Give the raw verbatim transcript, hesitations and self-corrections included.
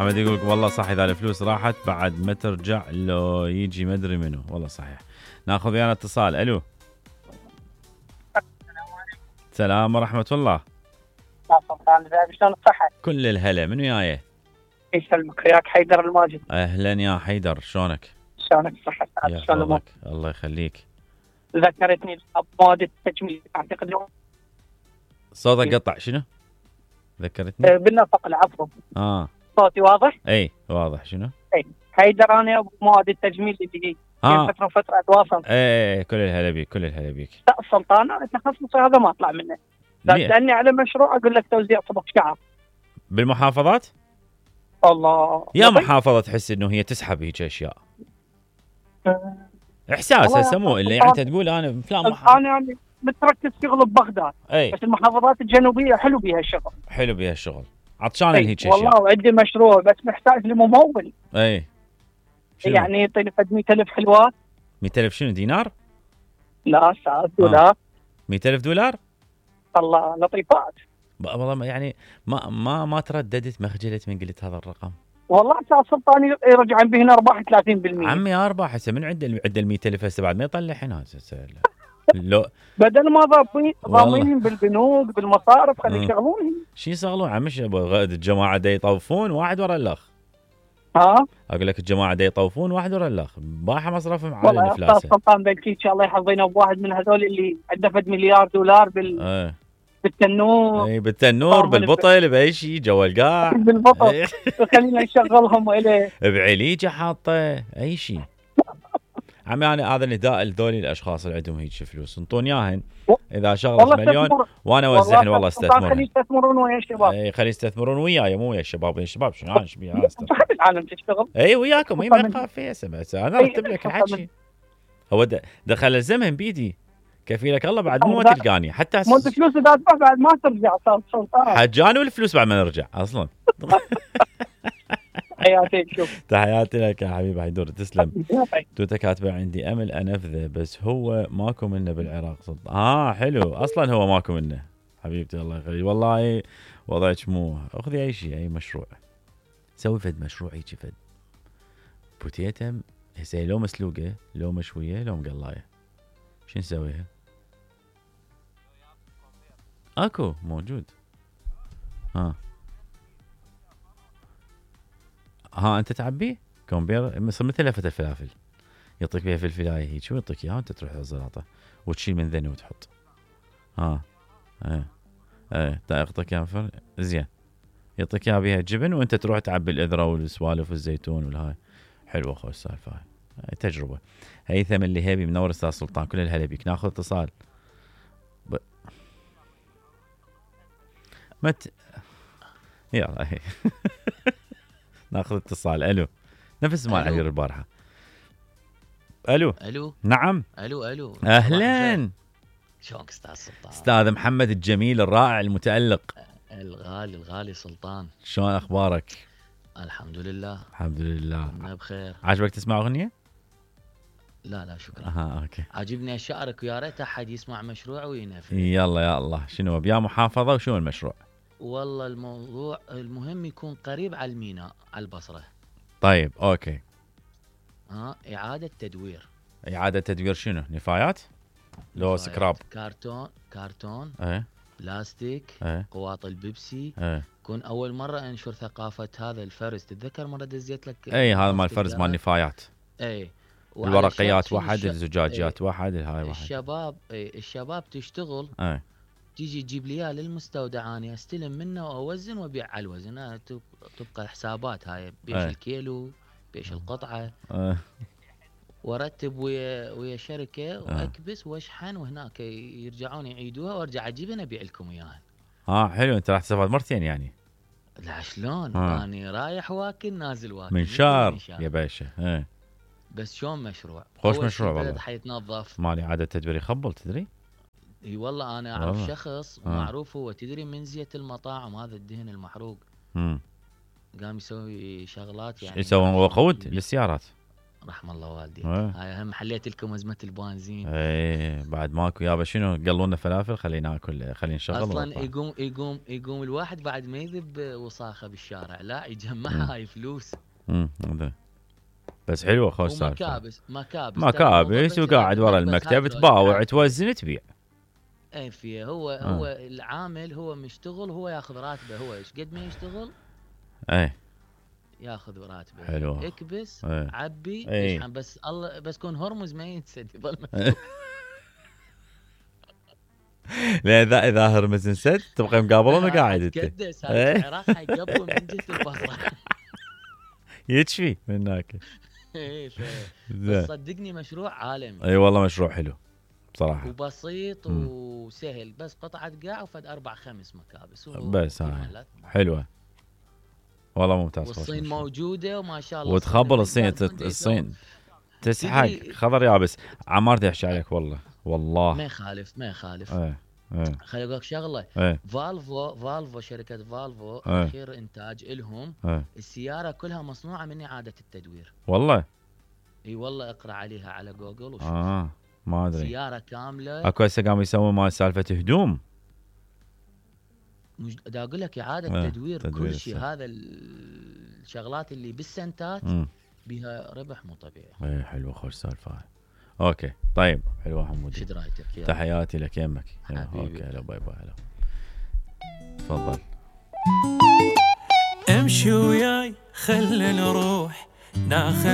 محمد يقول لك والله صح، اذا الفلوس راحت بعد ما ترجع لو يجي ما ادري منو. والله صحيح. ناخذ ويانا اتصال. الو. السلام ورحمة الله. سلطان ازيك شلون الصحة؟ كل الهلا. من وياي؟ يسلمك وياك حيدر الماجد. اهلا يا حيدر، شلونك؟ شلونك الصحة؟ يحفظك الله يخليك. ذكرتني بمواد التجميل اعتقد اليوم. صوتك قطع. شنو؟ ذكرتني؟ بالنفق العفو. اه صوتي واضح؟ اي واضح. شنو؟ اي حيدر انا ابو مواد التجميل اللي هي آه. فترة فترة اتواصل. اي كل الهلا بيك كل الهلا بيك. لا السلطان انا تخصصي هذا ما اطلع منه. لا تسالني على مشروع اقول لك توزيع صبغ شعر. بالمحافظات؟ الله يا محافظة تحس انه هي تسحب هيك اشياء. احساس هسه مو اللي يعني انت تقول انا فلان محافظة. انا يعني متركز شغل ببغداد. اي بس المحافظات الجنوبية حلو بيها الشغل. حلو بيها الشغل. عطشان هيك اشياء. والله وعندي مشروع بس محتاج لي ممول. اي شنو؟ يعني يعطيني قد مئة ألف حلوات. مئة ألف شنو دينار؟ لا استاذ دولار. آه. مئة ألف دولار؟ الله لطيفات. والله يعني ما ما ما ترددت ما خجلت من قلت هذا الرقم. والله استاذ سلطان يرجع به هنا ارباح ثلاثين بالمئة. عمي ارباح هسه من عند عند ال مئة ألف هسه بعد ما يطلع هنا هسه. لو بدل ما ضابطين ضامنين بالبنوك بالمصارف خلي يشغلونهم. شو يشغلون عمي؟ الجماعه دا يطوفون واحد ورا الاخ. ها اقول لك الجماعه دا يطوفون واحد ورا الاخ. باحه مصرفهم على والله الافلاس. استاذ سلطان بلكي ان شاء الله يحظينا بواحد من هذول اللي عنده فد مليار دولار بال اه. بالتنور. اي بالتنور بالبطل باي شيء جوا القاع. بالبطل خلينا نشغلهم اليه. بعليجه حاطه اي شيء. عمي انا هذا نداء لذولي الاشخاص اللي عندهم هيك فلوس انطون اياهن. اذا شغله مليون وانا اوزعهن والله استثمرون. خلي يستثمرون ويا الشباب. اي خلي يستثمرون وياي مو ويا الشباب. ويا الشباب شنو انا ايش بي انا استثمر. صاحب العالم تشتغل. اي وياكم. اي ما تخاف فيها بس انا ارتب لك الحكي. هو دخل الزمن بيدي كفيلك الله بعد مو تلقاني حتى مو الفلوس اذا تروح بعد ما ترجع استاذ سلطان. حجاني والفلوس بعد ما نرجع اصلا. تحياتي. شوف تحياتي لك يا حبيبي حيدور تسلم. تويتر كاتبه عندي امل انفذه بس هو ماكو منه بالعراق سلطان. اه حلو اصلا هو ماكو منه حبيبتي الله يخليك. والله وضعك مو اخذي اي شيء اي مشروع سوي فد مشروع هيك فد بوتيتم هسه لو مسلوقه لو مشويه لو مقلايه شو نسويها؟ اكو موجود. ها ها انت تعبيه كومبير مثل مثل لفه الفلافل يعطيك بيها فلفلايه هيك شو يعطيك اياها وانت تروح الزلاطه وتشيل من ذني وتحط. ها ايه ايه يعطيك اياها زين يعطيك اياها بيها جبن وانت تروح تعبي الاذره والسوالف والزيتون والهاي. حلوه اخوي السالفه هاي تجربه. هيثم اللي هيبي منور استاذ سلطان كل الهلا بيك. ناخذ اتصال. ب... مت يلا هي ناخذ اتصال. الو نفس مال علي البارحه. الو الو نعم. الو الو اهلا. شلونك استاذ سلطان؟ استاذ محمد الجميل الرائع المتألق الغالي الغالي سلطان. شلون اخبارك؟ الحمد لله الحمد لله. انا بخير. عجبك تسمع اغنيه؟ لا لا شكرا. اها اوكي. عاجبني اشعرك ويا ريت احد يسمع مشروع وينفذ. يلا يا الله شنو بيا محافظه وشنو المشروع؟ والله الموضوع المهم يكون قريب على الميناء على البصره. طيب اوكي. ها اعاده تدوير. اعاده تدوير شنو؟ نفايات؟ لو سكراب. كرتون كرتون. ايه بلاستيك. ايه قواط البيبسي. ايه كون اول مره انشر ثقافه هذا الفرز. تتذكر مره دزيت لك اي هذا مال الفرز مال نفايات. اي الورقيات واحد الزجاجات ايه واحد الهاي واحد. الشباب اي الشباب تشتغل. ايه تيجي تجيب لي اياه للمستودع اني استلم منه واوزن وابيع على الوزن. تبقى حسابات هاي بيش ايه الكيلو بيش القطعه. ايه وارتب ويا ويا شركه واكبس واشحن وهناك يرجعون يعيدوها وارجع اجيبها ابيع لكم اياها. اه حلو انت راح تستفاد مرتين يعني. لا شلون انا رايح واكل نازل واكل من شار يا باشا. ايه بس شلون مشروع خوش مشروع والله. البلد حيتنظف مالي عاده تدبير يخبل تدري. اي والله انا اعرف والله. شخص آه. معروف هو تدري من زيت المطاعم هذا الدهن المحروق. امم قام يسوي شغلات يعني يسوون وقود للسيارات. رحم الله والديك. ايه. هاي هم حليت لكم ازمه البنزين. ايه بعد ماكو يابا شنو قلونا فلافل خلينا ناكل خلينا نشغل اصلا ونطلع. يقوم يقوم يقوم الواحد بعد ما يذب وصاخه بالشارع، لا يجمعها هاي فلوس. امم بس حلوه خوش سالفه. ومكابس مكابس مكابس وقاعد ورا المكتب تباوع توزن تبيع. اي فيه هو آه. هو العامل هو مشتغل هو ياخذ راتبه، هو ايش قد ما يشتغل اي ياخذ راتبه. حلو. اكبس ايه. عبي ايه. اشحن، بس الله بس كون هرمز ما ينسد يظل مفتوح. لا اذا اذا هرمز انسد تبقى مقابلون وقاعد انت. تكدس هاي العراق حيقبل من جهه البصره. يتشفي من هناك. ايه بس صدقني مشروع عالمي. اي والله مشروع حلو بصراحه وبسيط م. وسهل، بس قطعه قاع وفد اربع خمس مكابس بس هاي حلوه والله ممتاز. والصين موجوده وما شاء الله. وتخبل الصين الصين تسحق خضر يابس. عمار دي احكي عليك والله والله ما يخالف ما يخالف. ايه ايه خليني اقول لك شغله. ايه. فالفو فالفو شركه فالفو ايه. اخير انتاج لهم. ايه. السياره كلها مصنوعه من اعاده التدوير. والله اي والله اقرا عليها على جوجل وشوف. اه ما ادري. سياره كامله. اكو هسه قاموا يسوون مال سالفه هدوم. مش دا اقول لك اعاده اه. تدوير, تدوير كل شيء. هذا الشغلات اللي بالسنتات م. بها ربح مو طبيعي. ايه حلوه خوش سالفه هاي. اوكي طيب حلوه حمودي. شد رايتك؟ تحياتي لك يمك. اوكي هلا باي باي. هلا تفضل. امشي وياي خلنا نروح ناخذ